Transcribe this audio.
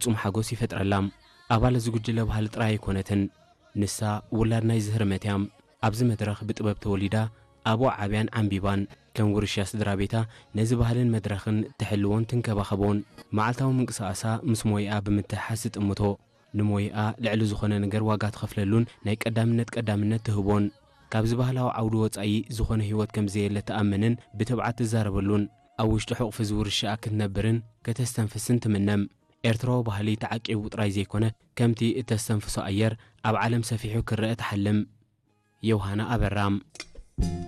ፍጹም ሓጎስ ይፈጥረላ። ኣባል እዚ ጉጅለ ባህሊ ጥራይ ኣይኮነትን። ንሳ ውላድ ናይ ዝህርመት እያ። ኣብዚ መድረኽ ብጥበብ ተወሊዳ፣ ኣብኡ ዓብያን ዓንቢባን። ከም ውርሻ ስድራ ቤታ ነዚ ባህልን መድረኽን ትሕልዎን ትንከባኸቦን። መዓልታዊ ምንቅስቓሳ ምስ ሞይኣ ብምትሕሓዝ ትጥምቶ። ንሞይኣ ልዕሊ ዝኾነ ነገር ዋጋ ትኸፍለሉን ናይ ቀዳምነት ቀዳምነት ትህቦን። ካብዚ ባህላዊ ዓውዲ ወጻኢ ዝኾነ ህይወት ከም ዘየለ ትኣምንን ብትብዓት ትዛረበሉን። ኣብ ውሽጢ ሕቑፊ እዚ ውርሻኣ ክትነብርን ከተስተንፍስን ትምነም። ኤርትራዊ ባህሊ ተዓቂቡ ጥራይ ዘይኮነ፣ ከምቲ እተስተንፍሶ ኣየር ኣብ ዓለም ሰፊሑ ክረአ ትሓልም። ዮሃና ኣበራ።